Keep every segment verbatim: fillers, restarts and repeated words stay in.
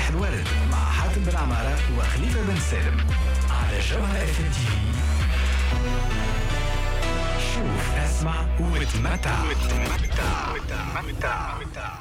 صباح الورد مع حاتم بن عمارة وخليفة بن سالم على جوهرة اف ام تي في. شوف، اسمع وتمتع.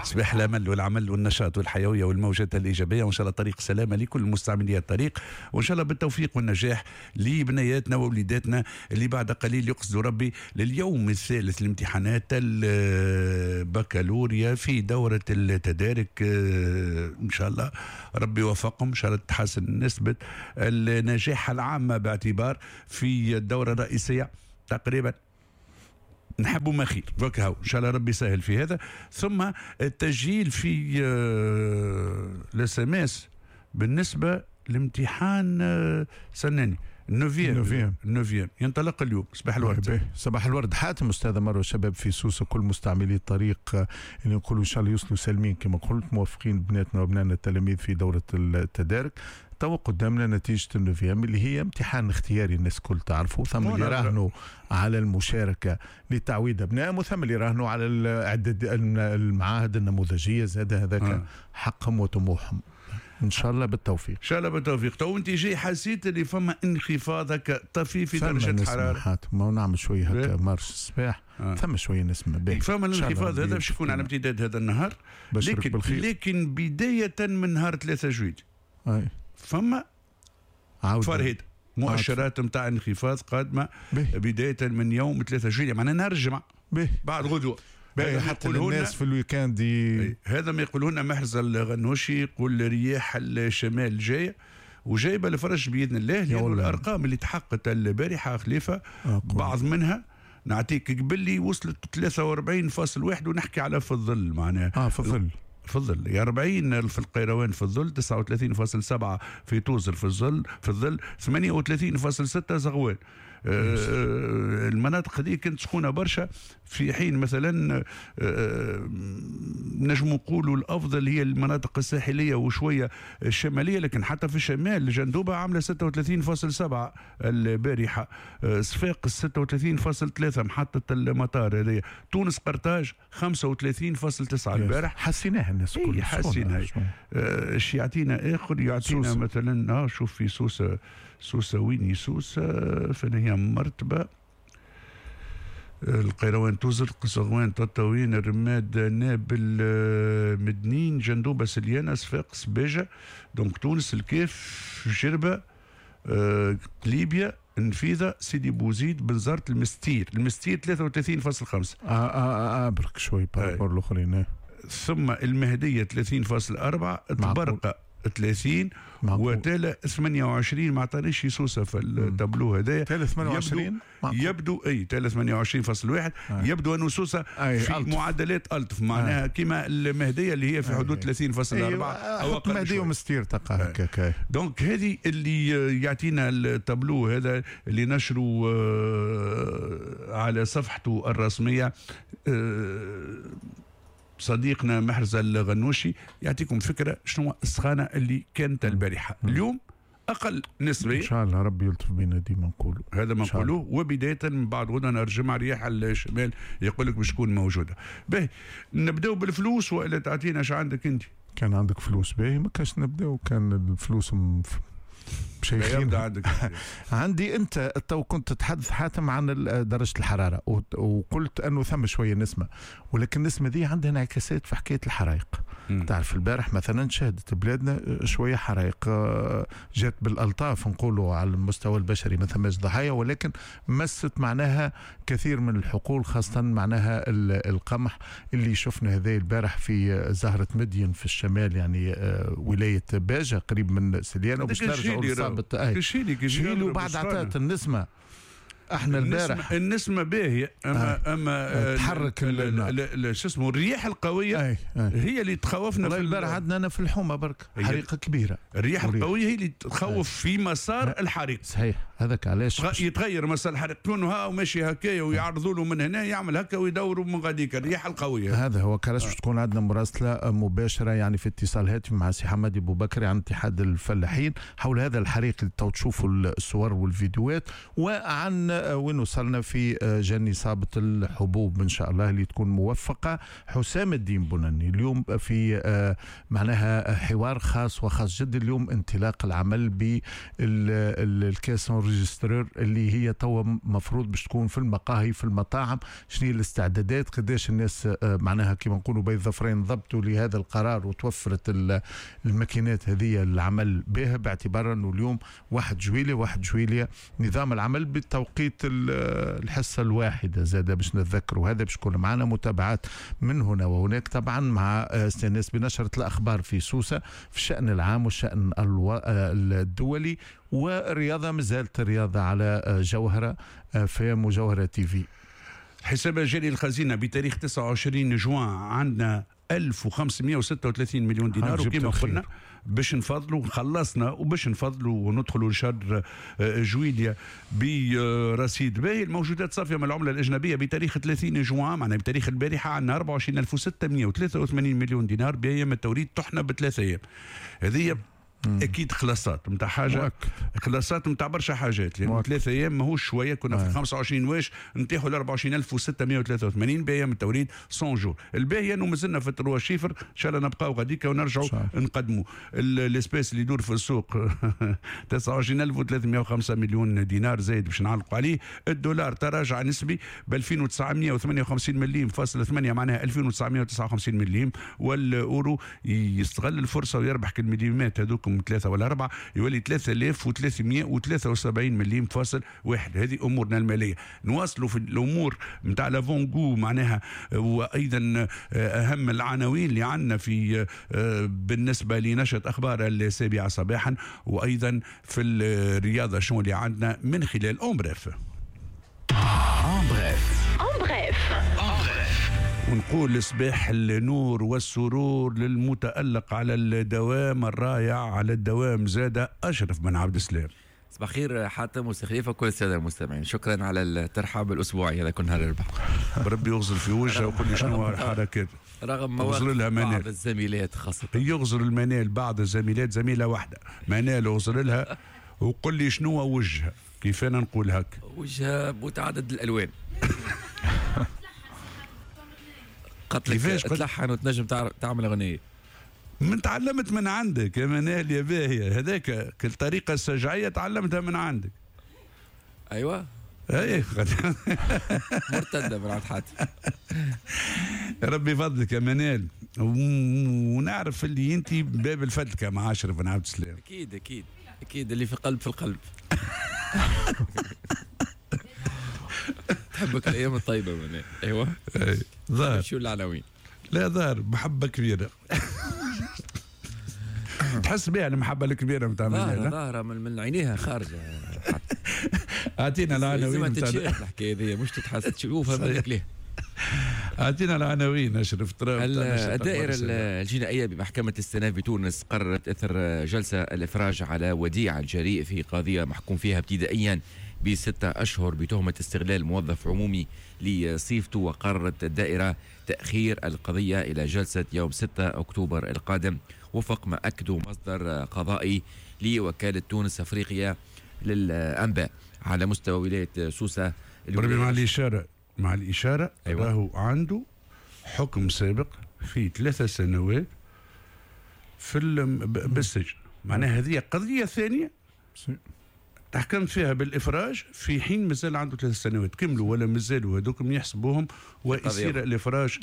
صباح الامل والعمل والنشاط والحيوية والموجات الايجابيه، وان شاء الله طريق سلامه لكل مستعملي الطريق، وان شاء الله بالتوفيق والنجاح لبنياتنا ووليداتنا اللي بعد قليل يقصدوا ربي لليوم الثالث لامتحانات البكالوريا في دوره التدارك. ان شاء الله ربي يوفقهم، ان شاء الله تحسن نسبه النجاح العامة باعتبار في الدورة الرئيسية تقريبا نحبوا ما خير وكهو، ان شاء الله ربي يسهل في هذا. ثم التسجيل في ال SMS بالنسبة لامتحان سناني ال neuvième ال neuvième ينطلق اليوم. صباح الورد. صباح الورد حاتم. استاذ مروه، شباب في سوسة، كل مستعملي الطريق اللي نقولوا ان شاء الله يوصلوا سالمين كما قلت، موفقين بناتنا وابنائنا التلاميذ في دوره التدارك. تو قدامنا نتيجة ال neuvième اللي هي امتحان اختياري، الناس الكل تعرفوا، ثم اللي راهنوا على المشاركة لتعويض أبنائهم، وثم اللي راهنوا على عدة المعاهد النموذجية، زاد هذاك آه. حقهم وطموحهم. ان شاء الله بالتوفيق. ان شاء الله بالتوفيق. تو انت جاي حسيت اللي فما انخفاض هكا طفيف في درجه الحرارة؟ ما نعمل شوية هكا marche الصباح آه. ثم شوية نسمه باهي. فما الانخفاض هذا باش يكون على امتداد هذا النهار، لكن بالخير. لكن بداية من نهار ثلاثة جويلية أي. فما فرهد مؤشرات نتاع انخفاض قادمة به. بداية من يوم ثلاثة جويلية، معناها نهار الجمعة بعد غدوه. حتى الناس في ال week-end ي... هذا ما يقولون محرز الغنوشي، يقول رياح الشمال جاية وجايبه الفرج باذن الله، لأن الارقام اللي تحققت البارحة خليفة آه بعض منها نعطيك قبل لي وصلت ثلاثة وأربعين فاصل واحد، ونحكي على في الظل معناها اه في الظل في الظل أربعين في القيروان في الظل، تسعة وثلاثين فاصل سبعة في توزر في الظل في الظل، ثمانية وثلاثين فاصل ستة زغوان. آه المناطق هذه كانت سخونة برشا، في حين مثلا آه نجم نقولوا الافضل هي المناطق الساحلية وشوية الشمالية، لكن حتى في الشمال جندوبه عامله ستة وثلاثين فاصل سبعة البارحة، آه صفاقس ستة وثلاثين فاصل ثلاثة محطة المطار هذه، تونس قرطاج خمسة وثلاثين فاصل تسعة البارح. حسيناها الناس الكل، حسيناها. ايش يعطينا اخر؟ يعطينا سوسة. مثلا اه شوف في سوسة، سوسة وين سوسة؟ فين هي مرتبه؟ القيروان توزر، قصغوان، تطاوين، الرماد، نابل، مدنين، جندوبه، سليانه، صفاقس، باجه، donc تونس، الكاف، جربه، آه، ليبيا، النفيذه، سيدي بوزيد، بنزرت، المستير، المستير ثلاثة وثلاثين فاصل خمسة. اه اه اه برك شوي par rapport الاخرين. ثم المهدية ثلاثين فاصل أربعة، تبرقه ثلاثين، وتالا ثمانية وعشرين. ما عطانيش سوسة في التابلو هذايا. تالا ثمانية وعشرين يبدو, يبدو اي تالا ثمانية وعشرين فاصل واحد. آه. يبدو انه سوسة أي في ألطف. معدلات الطف معناها. آه. كما المهدية اللي هي في حدود ثلاثين فاصل أربعة او اقل. المهدية ومستير تلقى هكاك. donc هذه اللي يعطينا التابلو هذا اللي نشره على صفحته الرسمية صديقنا محرز الغنوشي، يعطيكم فكرة شنو السخانه اللي كانت البارحة. اليوم اقل نسبيا ان شاء الله ربي يلطف بنا، ديما نقولوا هذا ما نقولوه. وبداية من بعد غدا نهار الجمعة رياح الشمال يقول لك باش تكون موجودة. باهي نبداو بالفلوس والا تعطينا اش عندك انت؟ كان عندك فلوس باهي ما كاش نبداو، كان الفلوس مف... شيخين عندك. عندي انت تو كنت تتحدث حاتم عن درجه الحرارة وقلت انه ثم شوية نسمه، ولكن النسمه دي عندها انعكاسات في حكاية الحرائق. م. تعرف البارح مثلا شهدت بلادنا شوية حرائق جات بالالطاف نقولوا على المستوى البشري، ما ثماش ضحايا، ولكن مست معناها كثير من الحقول، خاصة معناها القمح اللي شفنا هذا البارح في زهره مدين في الشمال، يعني ولاية باجه قريب من سليانه، وباش نرجعوا كشيلي كشيلي وبعد عطات النسمه. احنا البارح النسمه باهيه، اما آه. اما تحرك شو اسمه الرياح القوية. آه. آه. هي اللي تخوفنا. في البارح عندنا انا في الحومه برك حريقة كبيرة. الرياح القوية هي اللي تخوف آه. في مسار آه. الحريق. صحيح. هذاك علاش يتغير مسار الحريق، كونه ها وماشي هكايا ويعرضوا له من هنا يعمل هكا ويدوروا من غاديك الريحة القوية. هذا هو كلاش آه. تكون عندنا مراسله مباشرة يعني في اتصال هاتفي مع سي حمادي بوبكري عن اتحاد الفلاحين حول هذا الحريق اللي تو تشوفوا الصور والفيديوهات، وعن وين وصلنا في جني صابه الحبوب ان شاء الله اللي تكون موفقة. حسام الدين بناني اليوم في معناها حوار خاص وخاص جدا اليوم، انطلاق العمل بال caisse enregistreuse اللي هي توا مفروض باش تكون في المقاهي في المطاعم. شنو هي الاستعدادات، قداش الناس معناها كما نقولوا بين ظفرين ضبطوا لهذا القرار وتوفرت الماكينات هذه العمل بها، باعتبار انه اليوم واحد جويلية واحد جويلية نظام العمل بالتوقيت الحصة الواحدة زاد باش نتذكروا هذا. باش يكون معنا متابعات من هنا وهناك طبعا مع استئناس بنشرة الأخبار في سوسة في الشأن العام والشأن الدولي، والرياضة مازالت الرياضة على جوهرة فام وجوهرة تي في. حساب جاري الخزينة بتاريخ تسعة وعشرين جوان عندنا ألف وخمسمائة وستة وثلاثين مليون دينار، وكما قلنا باش نفضلوا خلصنا وباش نفضلوا وندخلوا لشهر جويليا برصيد باهي. الموجودات صافية من العملة الاجنبية بتاريخ ثلاثين جوان معناها بتاريخ البارحة عندنا أربعة وعشرين ألف وستمائة وثلاثة وثمانين مليون دينار بايام التوريد طحنا بثلاث ايام. هذه اكيد خلاصات نتاع حاجة، خلاصات نتاع برشا حاجات، لان ثلاثة ايام ماهوش شوية. كنا في خمسة وعشرين واش نتيحوا ل أربعة وعشرين ألف وستمائة وثلاثة وثمانين بايام التوريد مية jours. الباهي انه مازلنا في trois chiffres، ان شاء الله نبقاو غاديك ونرجعوا نقدموا l'espèce اللي يدور في السوق تسعة وعشرين ألف وثلاثمائة وخمسة مليون دينار زايد باش نعلقوا عليه. الدولار تراجع نسبي ب ألفين وتسعمائة وثمانية وخمسين مليم فاصل ثمانية معناها ألفين وتسعمائة وتسعة وخمسين مليم، والاورو يستغل الفرصة ويربح كالمليمات هذوك ثلاثة ولا أربعة يولي ثلاثة آلاف وثلاثمائة وثلاثة وسبعين مليم فاصل واحد. هذه أمورنا المالية. نواصلوا في الأمور نتاع l'avant-goût معناها، وأيضا أهم العناوين اللي عندنا في بالنسبة لنشرة أخبار السابعة صباحا، وأيضا في الرياضة شنو اللي عندنا من خلال en bref. en bref en bref. ونقول صباح النور والسرور للمتألق على الدوام الرائع على الدوام زاد أشرف بن عبد السلام. صباح الخير حاتم وخليفة وكل السادة المستمعين، شكرا على الترحاب الأسبوعي هذا كل نهار الأربعاء. بربي يغزل في وجهه ويقول لي شنو الحركات رغم مواقف بعض الزميلات خاصة. يغزل المنال بعض الزميلات، زميلة واحدة منال يغزل لها وقل لي شنو وجهها، كيف أنا نقول هك؟ وجهها متعدد الألوان. قتلك تلحن وتنجم تعمل أغنية. من تعلمت من عندك يا منال يا باهية، هذاك الطريقة السجعية تعلمتها من عندك. أيوة أي مرتدة من عند حاتم. ربي يفضلك يا منال، ونعرف اللي أنت باب الفدلكة مع أشرف بن عبد السلام. أكيد أكيد أكيد، اللي في قلب في القلب. تحبك الأيام الطيبة منال. أيوة ظاهر. شو العناوين؟ لا ظاهر محبة كبيرة. تحس بها المحبة الكبيرة نتاع منال. ظاهرة من, من عينيها خارجة. أعطينا العناوين. ما تتشاف الحكاية ذي، مش تتحس تشوفها منك ليه. أعطينا العناوين أشرف. الدائرة الجنائية بمحكمة الاستئناف بتونس قررت إثر جلسة الإفراج على وديع الجريء في قضية محكوم فيها ابتدائيا بستة أشهر بتهمة استغلال موظف عمومي لصيفته، وقررت الدائرة تأخير القضية إلى جلسة يوم ستة أكتوبر القادم وفق ما أكده مصدر قضائي لوكالة تونس أفريقيا للأنباء. على مستوى ولاية سوسة مع الإشارة مع الإشارة أيوة. راهو عنده حكم سابق في ثلاثة سنوات في بالسجن، معناها هذه قضية ثانية تحكمت فيها بالإفراج في حين مازال عنده ثلاث سنوات كملوا ولا مازالوا هذوكم يحسبوهم ويصير الإفراج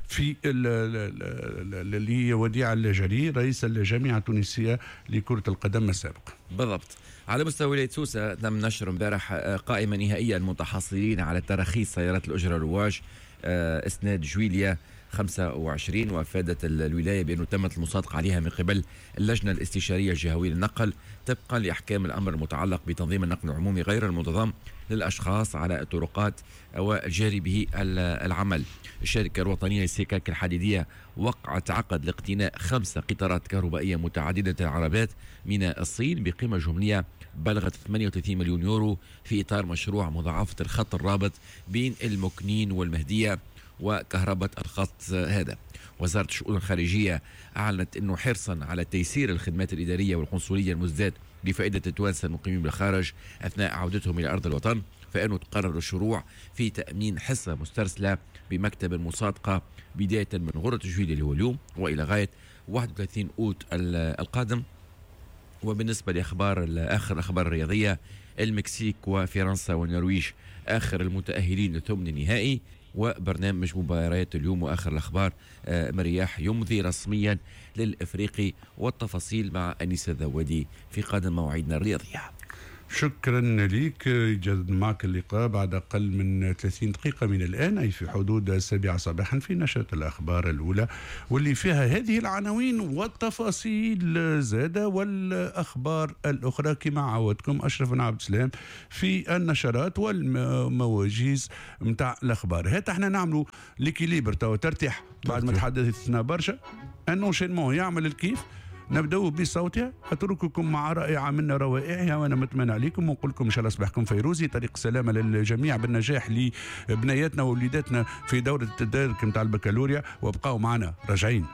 في اللي هي وديع الجري رئيس الجامعة التونسية لكرة القدم السابق. بالضبط. على مستوى ولاية سوسة تم نشر امبارح قائمة نهائية المتحصلين على تراخيص سيارات الأجرة الرواج اسناد جويليا وخمسة وعشرين. وأفادت الولاية بأنه تمت المصادقة عليها من قبل اللجنة الاستشارية الجهوية للنقل طبقا لأحكام الأمر المتعلق بتنظيم النقل العمومي غير المنتظم للأشخاص على الطرقات والجاري به العمل. الشركة الوطنية للسكك الحديدية وقعت عقد لاقتناء خمسة قطارات كهربائية متعددة العربات من الصين بقيمة جملية بلغت ثمانية وثلاثين مليون يورو في إطار مشروع مضاعفة الخط الرابط بين المكنين والمهدية وكهرباء الخط هذا. وزارة الشؤون الخارجية أعلنت أنه حرصا على تيسير الخدمات الإدارية والقنصلية المزداد لفائدة التوانسة المقيمين بالخارج أثناء عودتهم إلى أرض الوطن، فإنه تقرر الشروع في تأمين حصة مسترسلة بمكتب المصادقة بداية من غرة جويلية اللي هو اليوم وإلى غاية واحد وثلاثين أوت القادم. وبالنسبة لأخبار آخر الأخبار الرياضية، المكسيك وفرنسا والنرويج آخر المتأهلين لثمن النهائي. وبرنامج مباريات اليوم وآخر الأخبار، مرياح يمضي رسميا للإفريقي، والتفاصيل مع أنيس الذوادي في قادم مواعيدنا الرياضية. شكرا لك. يجدد معك اللقاء بعد أقل من ثلاثين دقيقة من الآن، أي في حدود السابعة صباحا في نشرة الأخبار الأولى واللي فيها هذه العناوين والتفاصيل زادة والأخبار الأخرى كما عودتكم أشرف بن عبد السلام في النشرات والمواجيز متاع الأخبار. هات احنا نعملوا l'équilibre توا ترتاح بعد ما تحدثنا برشا، un enchaînement يعمل الكيف. نبدأ بصوتها، أترككم مع رائعة من روائعها وأنا متمنى عليكم ونقول لكم إن شاء الله صباحكم فيروزي، طريق سلامة للجميع بالنجاح لبنياتنا ووليداتنا في دورة التدارك نتاع البكالوريا، وابقوا معنا راجعين.